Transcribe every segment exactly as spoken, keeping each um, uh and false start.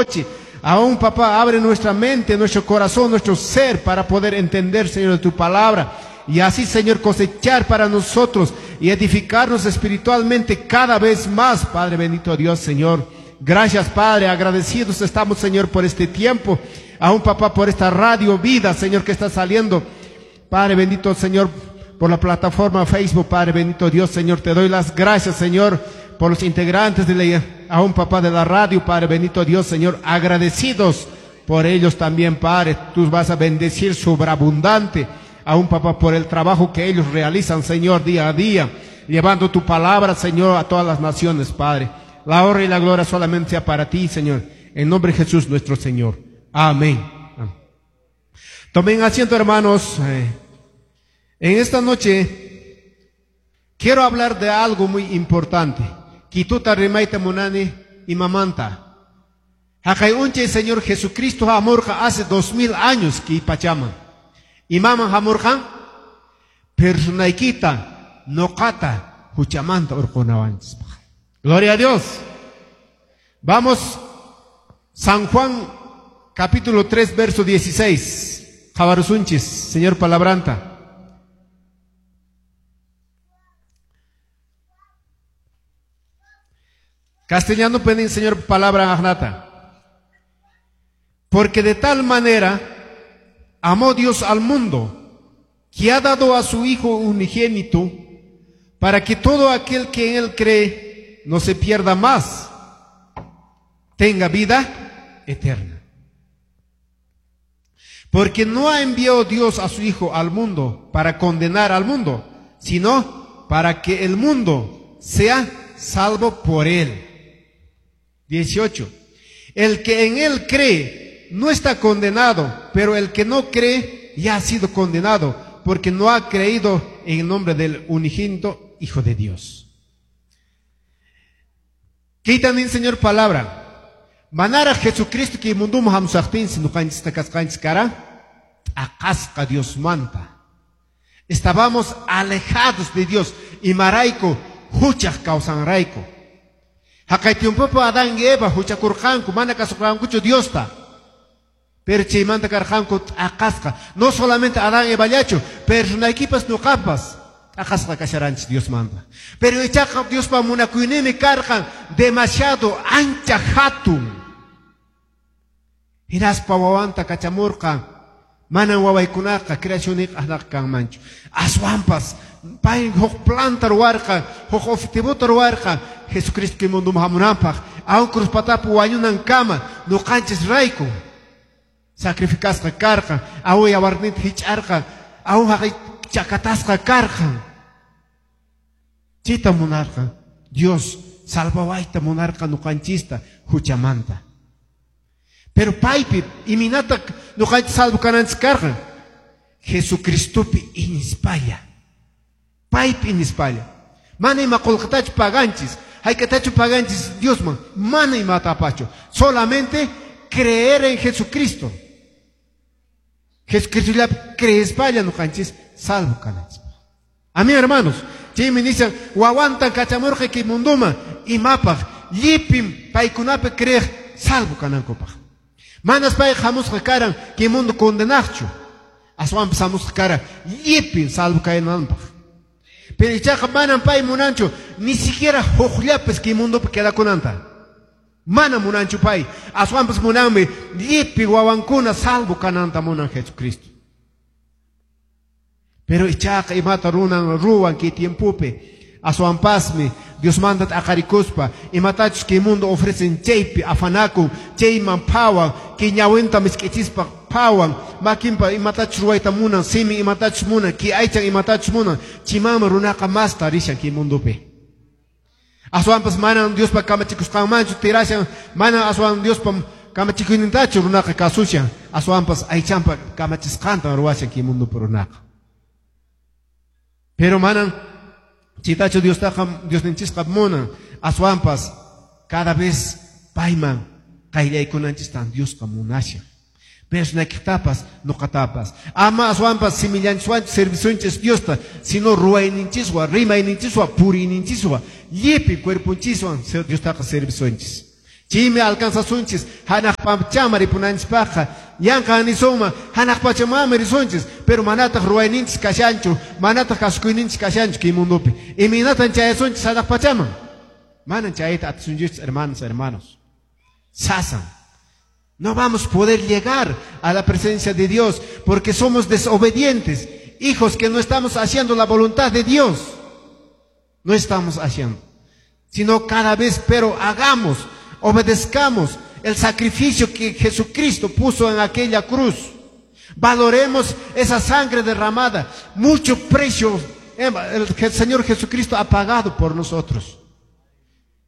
noche. Aún, papá, abre nuestra mente, nuestro corazón, nuestro ser para poder entender, Señor, de tu palabra. Y así, Señor, cosechar para nosotros y edificarnos espiritualmente cada vez más, Padre bendito Dios, Señor. Gracias, Padre. Agradecidos estamos, Señor, por este tiempo. Aún, papá, por esta radio vida, Señor, que está saliendo. Padre bendito, Señor, por la plataforma Facebook, Padre bendito Dios, Señor, te doy las gracias, Señor, por los integrantes de la, aún, papá, de la radio, Padre bendito Dios, Señor, agradecidos por ellos también, Padre. Tú vas a bendecir sobreabundante, aún, papá, por el trabajo que ellos realizan, Señor, día a día, llevando tu palabra, Señor, a todas las naciones, Padre. La honra y la gloria solamente sea para ti, Señor. En nombre de Jesús nuestro Señor. Amén. Tomen asiento, hermanos. En esta noche quiero hablar de algo muy importante. Kituta rimayta munani imamanta. Haqay unche Señor Jesucristo hamurqa hace dos mil años kay pachaman. Imaman hamurqa personaykita noqata huchamanta urqunawanchispaq. Gloria a Dios. Vamos, San Juan capítulo tres, verso dieciséis. Qhawarusunchis, Señor palabranta. Castellano pueden, Señor, palabra agnata. Porque de tal manera amó Dios al mundo, que ha dado a su Hijo unigénito, para que todo aquel que en él cree no se pierda más, tenga vida eterna. Porque no ha enviado Dios a su Hijo al mundo para condenar al mundo, sino para que el mundo sea salvo por él. dieciocho. El que en él cree no está condenado, pero el que no cree ya ha sido condenado, porque no ha creído en el nombre del unigénito Hijo de Dios. Quitan, Señor, palabra. Manara Jesucristo que munduman hamusaqtinsi nuqanchista kasqanchis kara t'aqasqa Diosmanta. Estábamos alejados de Dios y marayku huchaq kawsanrayku. Haqay tiempopi Adán y Eva huchakurqanku, mana kasurqankuchu Diosta. Pero chaymanta karqanku t'aqasqa. No solamente Adán y Evallachu, personaykipas nuqapas t'aqasqa kasharanchis Diosmanta. Pero ichaqa Diospa munakuyninmi karqan demasiado ancha hatun. Hinaspa wawanta kachamurqan. Manan wawaykunaqa creacioniqa aqnaqa kanmanchu. Aswanpas pay huk planta ruwarqa, huk objetivota ruwarqa, Jesucristo kay munduman hamunanpaq, aun cruz patapi wañunankama nuqanchis rayku sacrificasqa karqan, aun yawarninta hich'arqan, aun haqay chakatasqa karqan. Chayta munarqan Dios salvawayta munarqa nuqanchista huchamanta. Pero paypi imaynata nuqanchis salvo kananchis karqan? Jesucristopi iñispalla. Paypi iñispalla. Mana ima qullqitachu paganchis, hayk'atachu paganchis Diosman, mana imatapachu. Solamente creer en Jesucristo. Jesucristollapi creespalla nuqanchis salvo kananchis. Amén, hermanos. Chaymi nishan wawantan kachamurqa kay munduman imapaq llipim paykunapi creeq salvo kanankupaq. Manas pay hamusqa karan kay mundo condenaqchu. Aswanpas hamusqa karan llipin salvo kananpaq. Pero ichaqa manan pay munanchu ni siquiera hukllapis kay mundopi quedakunanta. Mana munanchu pay. Aswanpas munanmi llipi wawankuna salvo kananta munan Jesucristo. Pero ichaqa imata runan ruwan kay tiempopi. Aswanpasmi Diosmanta t'aqarikuspa imatachus kay mundo ofrecen chaypi afanakun, chayman phawan, kay ñawinta misk'ichispa phawan, makinpa imatachus ruwayta munan, simi imatachus munan, kay aychan imatachus munan, chaymanmi runaqa masta rishan kay mundopi. Aswanpas manan Diospa kamachikusqanmanchu tirashan, manan aswan Diospa kamachikuynintachu runaqa kasushan, aswanpas aychanpa kamachisqanta ruwashan kay mundopi runaqa. Pero manan chaytachu Diostaqa Diosninchisqa munan, aswanpas cada vez payman qayllaykunanchistan Diosqa munashan. Personaykitapas nuqatapas. Ama aswanpas simillanchiswanchu servisunchis Diosta, sino ruwayninchiswan, rimayninchiswan, puriyninchiswan, llipi cuerponchiswan Diostaqa servisunchis. Chaymi alcanzasunchis hanaq pachaman ripunanchispaqqa. Yanqa nisuma hanaq pachamanmi risunchis, pero manataq ruwayninchis kashanchu, manataq kasukuyninchis kashanchu kay mundupi. Imaynatan chayasunchis hanaq pachaman? Manan chayta atisunchis, hermanos, hermanos. Sasan. No vamos a poder llegar a la presencia de Dios porque somos desobedientes, hijos que no estamos haciendo la voluntad de Dios. No estamos haciendo, sino cada vez, pero hagamos, obedezcamos el sacrificio que Jesucristo puso en aquella cruz. Valoremos esa sangre derramada, mucho precio el Señor Jesucristo ha pagado por nosotros.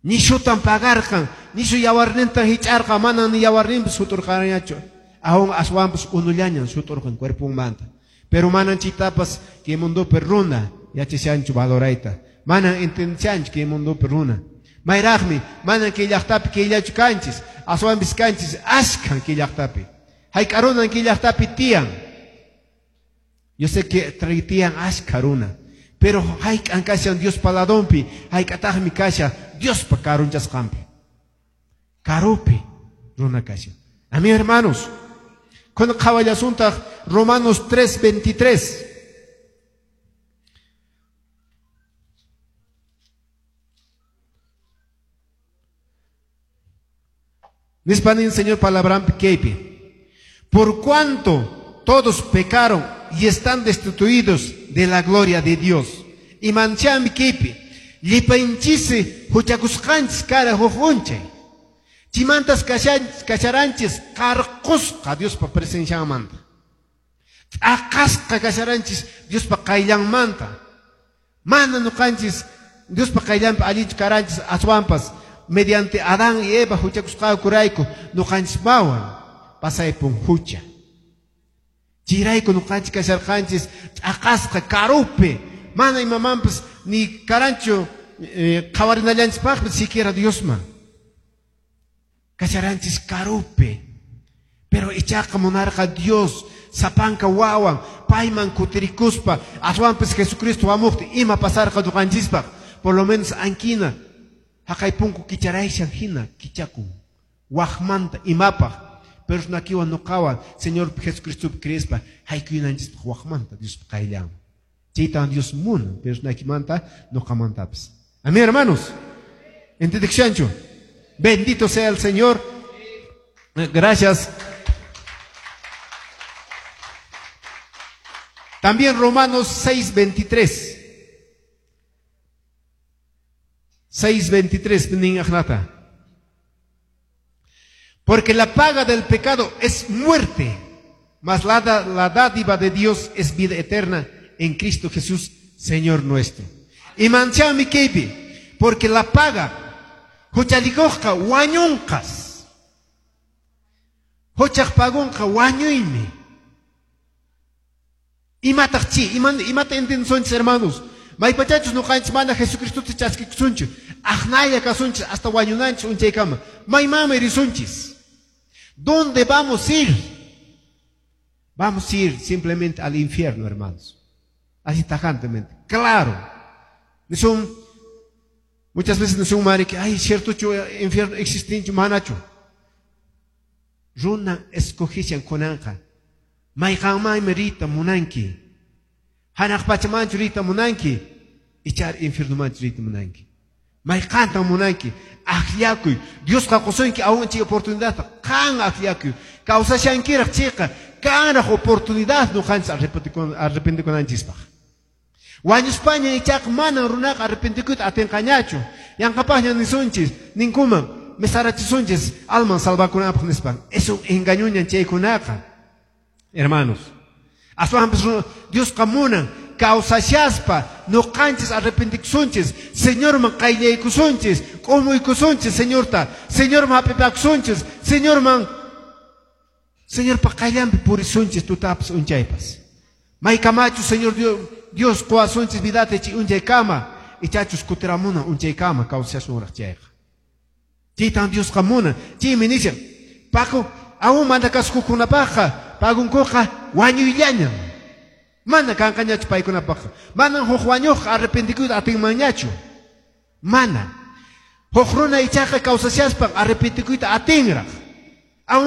Nishutan pagarqan, nishu yawarnintan hich'arqa, manan ni yawarninpas suturqanñachu. Aún aswanpas unullañan suturqan cuerpunmanta. Pero manan chitapas kay mundupi runa yachashanchu valorayta. Manan entendishanchu kay mundupi runa. Mayraqmi, manan kay llaqtapi kayllachu kanchis, aswanpis kanchis ashkan kay llaqtapi. Hayk'a runan kay llaqtapi tiyan. Yo sé que tiyan ashka runa. Pero hayk'an kashan Diospa ladonpi, hayk'ataqmi kashan Diospa karunchasqanpi. Karupi runa kashan. Amén, hermanos. Kunan qhawallasuntaq Romanos tres veintitrés. Nispanin Señor palabrampi kaypi. Por cuanto todos pecaron y están destituidos de la gloria de Dios. Y manchami kaypi. Llipanchisi huchakusqanchis kara huk unchay. Chimantas kasharanchis qarqusqa Diospa presencianmanta. T'aqasqa kasharanchis Diospa qayllanmanta. Mana nuqanchis Diospa qayllanpi allinchu karanchis aswanpas mediante Adán y Eva huchakusqankurayku nuqanchispawan pasaypun hucha. Chayrayku nuqanchis kasharqanchis t'aqasqa karupi. Mana imamanpas ni karanchu qhawarinallanchispaqpis siquiera Diosman. Kasharanchis karupi. Pero ichaqa munarqa Dios sapanka wawan payman kutirikuspa aswanpis Jesucristo wamuqti ima pasarqa nuqanchispaq. Por lo menos ankina haqay punku kicharayshan hina kichakun waqmanta imapaq. Pero nakiwan nuqawan Señor Jesucristo creespa haykuyunanchispaq waqmanta Diospa qayllanman. Chaytan Dios munan, pero nakimanta nuqamantapis. Amén, hermanos. ¿Entendishanchu? Bendito sea el Señor. Gracias. También Romanos seis veintitrés. seis veintitrés, porque la paga del pecado es muerte, mas la, la dádiva de Dios es vida eterna en Cristo Jesús, Señor nuestro. Y manchami kaypi, porque la paga, huchalikuqqa wañunqas. Huchaq pagunqa wañuymi. Imataq chi, imata entiendesunchis, hermanos. Maypachachus nuqanchis mana Jesucristota chaskikusunchu, aqnalla kasunchis hasta wañunanchis unchaykama. Maymanmi risunchis. ¿Dónde vamos a ir? Vamos a ir simplemente al infierno, hermanos. Así tajantemente. Claro. Nisun, muchas veces nisun mari que, ay, cierto chu infierno existinchu manachu. Runa escogishan kunanqa. Mayqanmanmi riyta munanki. Hanaq pachamanchu riyta munanki. Ichar infiernomanchu riyta munanki. Mayqantan munanki. Akllakuy. Diosqa qusunki aún chay oportunidadta. Qan akllakuy. Kawsashankiraq chayqa kanraq oportunidad nuqanchis arrepentikunanchispaq. Wañuspaña ichaqa manan runaqa arrepentikuyta atinqañachu. Yanqapaqña nisunchis, ninkuman mesarachisunchis alman salvakunapaq nispan. Es un engañuñan chaykunaqa, hermanos. Aswanpas Diosqa munan kawsashaspa nuqanchis arrepentikusunchis, Señorman qayllaykusunchis, k'umuykusunchis Señorta, Señorman hap'ipakusunchis, Señorman Señorpa qayllanpi purisunchis tutapas unchaypas. Maykamachu Señor Dios, Dios quwasunchis vidata chay unchaykama, ichachus kutiramuna unchaykama kawsashasunraq chayqa. Chaytan Diosqa munan. Chaymi nishan, Paco, aún mana kasukuqkunapaqqa pagunkuqa wañuyllañan. Mana kanqañachu paykunapaqqa. Manan huk wañuqqa arrepentikuyta atinmanñachu. Mana. Huk runa ichaqa kawsashaspan arrepentikuyta atinraq.